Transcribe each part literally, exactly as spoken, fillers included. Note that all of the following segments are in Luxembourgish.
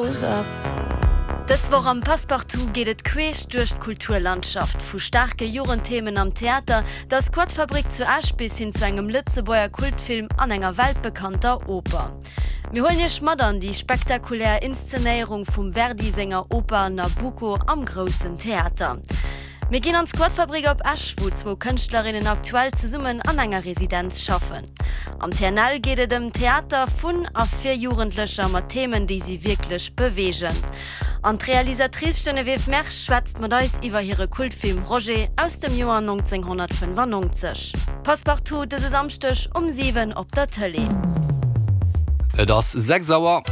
Dës Woch am Passepartout geet et queesch duerch d'Kulturlandschaft, vu staarke Jugendthemen am Theater, der Squatfabrik zu Esch bis hin zu engem Lëtzebuerger Kultfilm an enger weltbekannter Oper. Mir huelen iech mat an déi spektakulär Inszenéierung vum Verdi senger Oper Nabucco am Groussen Theater. Mir ginn an d'Squatfabrik op Esch, wou zwou Kënschtlerinnen aktuell zesummen an enger Residenz schaffen. Am T N L geet et ëm Theater vun a fir Jugendlecher mat Themen, déi si wierklech beweegen. An d'Realisatrice Geneviève Mersch schwätzt mat eis iwwer hire Kultfilm Roger aus dem Joer nonzénghonnertfënnefannonzeg. Passepartout dëse Samschdeg um siwen op der Tëlee. Et ass sechs Auer.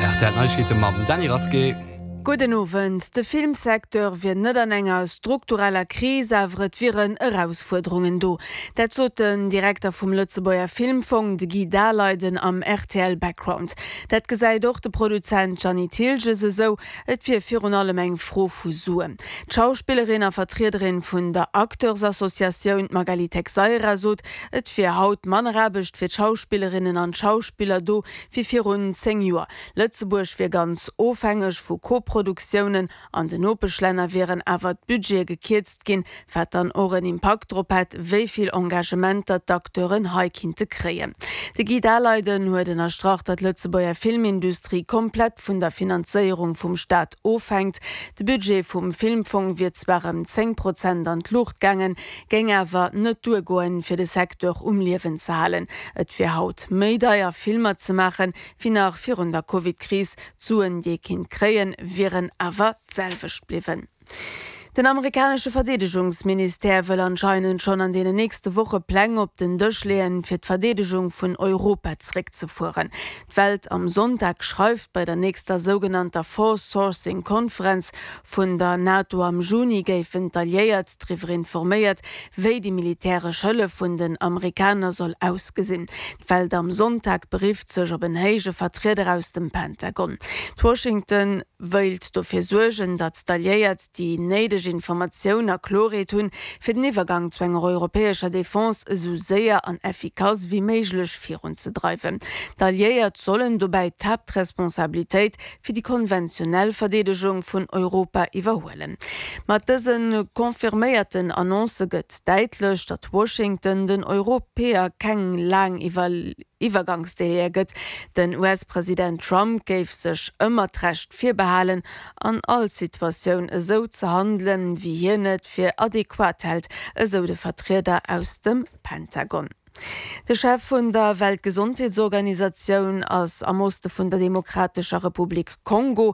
R T L Neiegkeete mam Dany Rasqué. Gudden Owend. De Filmsecteur wier net an enger struktureller Kris, awer et wieren Erausfuerderungen do. Dat sot den Direkter vum Lëtzebuerger Filmfong, de Guy Daleiden, am R T L Background. Dat gesäit och de Produzent Gianni Thiltges esou, et wier virun allem eng Fro vu Suen. D'Schauspillerin a Vertriederin vun der Acteursassociatioun Magali Texeira sot, et wier haut manner Aarbecht fir d'Schauspillerinnen an d'Schauspiller do wéi virun zéng Joer. Lëtzebuerg wier ganz ofhängeg vu Koproduktiounen, an den Nopeschlänner wieren awer d'Budgete gekierzt ginn, wat dann och en Impakt drop hätt, wéi vill Engagementer d'Acteuren hei kinnte kréien. De Guy Daleiden huet ënnerstrach, datt d'Lëtzebuerger Filmindustrie komplett vun der Finanzéierung vum Staat ofhänkt. De Budget vum Filmfong wier zwar ëm zéng Prozent an d'Luucht gaangen, géing awer net duergoen, fir de Secteur um Liewen ze halen. Et wier haut méi deier, Filmer ze maachen, wéi nach virun der Covid-Kris. D'Suen, déi ee kinnt kréien, wieren awer d'selwecht bliwwen. Den amerikanesche Verdeedegungsministère wëll anscheinend schonn an deenen nächste Woche Pläng op den Dësch leeën, fir d'Verdeedegung vun Europa zeréckzefueren. D'Welt am Sonntag schreift, bei der nächster sougenannter Force Sourcing Konferenz vun der NATO am Juni géifen d'Alliéiert driwwer informéiert, wéi déi militäresch Hëllef vun den Amerikaner soll ausgesinn. D'Welt am Sonntag berifft sech op en héije Vertrieder aus dem Pentagon. Washington wéilt dofir suergen, datt d'Alliéiert déi néideg Informatioun a Kloerheet hunn, fir den Iwwergang zu enger europäescher Defense esou séier an effikass wéi méiglech virunzedreiwen. D'Alliéiert sollen dobäi d'Haaptresponsabilitéit fir déi konventionell Verdeedegung vun Europa iwwerhuelen. Mat dëse confirméierten Annoncë gëtt däitlech, datt Washington den Europäer keng laang Iwwergangsdelaie gëtt. Den U S-President Trump géif sech ëmmer d'Recht virbehalen, an all Situatioun esou ze handelen, wéi hien et fir adequat hält, esou de Vertrieder aus dem Pentagon. De Chef vun der Weltgesondheetsorganisatioun ass am Oste vun der Demokratescher Republik Kongo.